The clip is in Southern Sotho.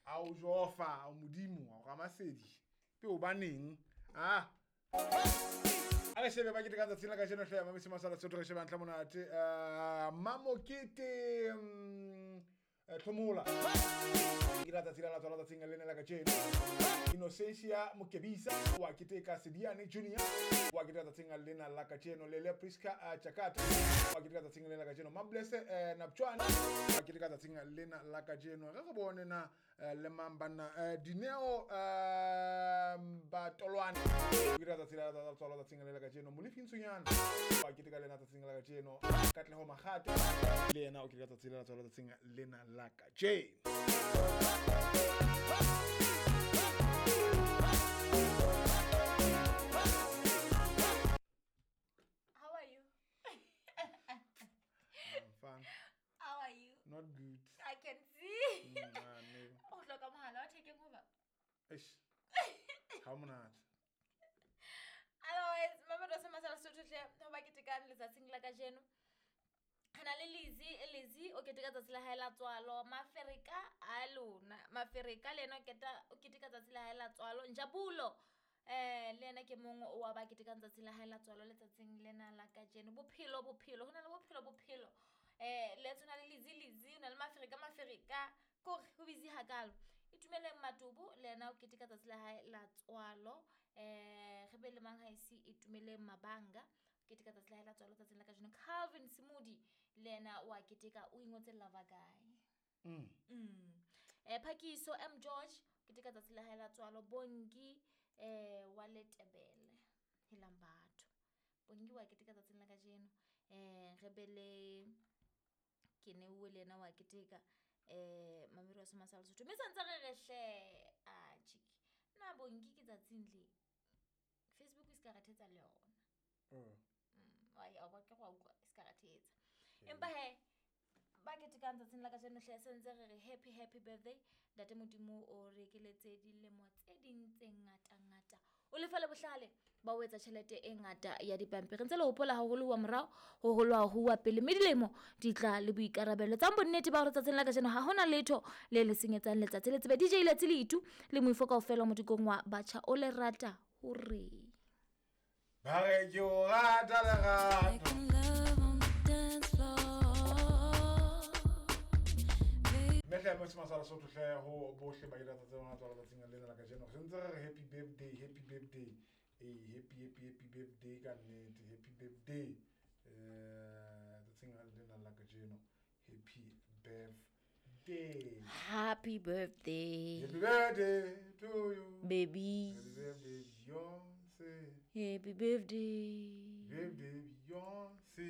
A o jofa, a modimo, a ramasedi. Pe o baneng? Ah. A re shebe ba keteka tsatsing la kajeno hle mamisi masala Sotho re sheba ntlha monate. Mamokete Tlhomola. Ke la tsatsi la la tswala tsatsing lena la kajeno. Innocentia Mokebisa wa keteka, Sediane Junior wa keteka tsatsing lena la kajeno, Lele Priska Chakata wa keteka tsatsing lena la kajeno, Mablese Napchwane wa keteka tsatsing lena la kajeno. Re bone na le mang banna, Dineo Batolwane keteka tsatsi la la tswalo tsatsing lena la kajeno, Molefi Ntsunyana wa keteka lena tsatsing la kajeno, Katleho Makgate le yena o keteka tsatsi la la tswalo tsatsing lena la kajeno. How are you? I'm fine. How are you? Not good. I can see. No. O hloka mohala wa thekeng hoba. Eish. Ha monate. Otherwise, mama se masala Sotho hle ho ba ketekang letsatsing la kajeno. Re na le Lizzy, Lizzy o keteka tsatsi la hae la tswalo. Mafereka a lona. Mafereka le yena o keteka tsatsi la hae la tswalo. Njabulo le yena ke mong wa ba ketekang tsatsi la hae la tswalo letsatsing lena la kajeno. Bophelo, bophelo, ho na le bophelo, bophelo. Le tshwana le Lizzy, Lizzy, ho na le Mafereka, Mafereka. Kore ho busy hakalo. Itumeleng Matobo le yena o keteka tsatsi la hae la tswalo. Re be le mang haesi Itumeleng Mabanga keteka tsatsi la hae la tswalo tsatsing la kajeno. Calvin Simudi le yena wa keteka, o ingotse Lava Guy. Phakiso M George keteka tsatsi la hae la tswalo. Bongi wa Letebele helang batho. Bongi wa keteka tsatsing la kajeno. Re be le Keneuwe le yena wa keteka. Mamiri wa Semasala Sotho. Mme santse re re hle a chiki. Na Bongi ke tsatsing le Facebook e ska re thetsa le yona. Wa ba ke go utlwa e ska re thetsa. Empa he ba ketekang tsatsing la kajeno hle sentse re re happy happy birthday. Ntate Modimo o re ekeletse dilemo tse ding tse ngata ngata. O lefa le bohlale ba o etsa tjhelete e ngata ya dipampiri. Ntse le hopola haholo wa morao, hoholo ha ho wa pele. Mme dilemo di tla le boikarabelo. Tsang bonnete ba hore tsatsing la kajeno ha hona letho le le senyetsang letsatsi. Le tsebe DJ Letsi Letu le moifo kaofela modikong wa batjha o le rata hore. Ba re ke o rata lerato. Mme hle Masala Sotho hle ho bohle ba ile tsatsi lona tswalo tsatsing lena la kajeno. Re ntse re re happy birthday, happy birthday. Happy happy happy birthday ka nnete, happy birthday. Tsatsing lena la kajeno. Happy birthday. Happy birthday. Happy birthday to you. Baby. Happy birthday Beyonce. Happy birthday. Birthday Beyonce.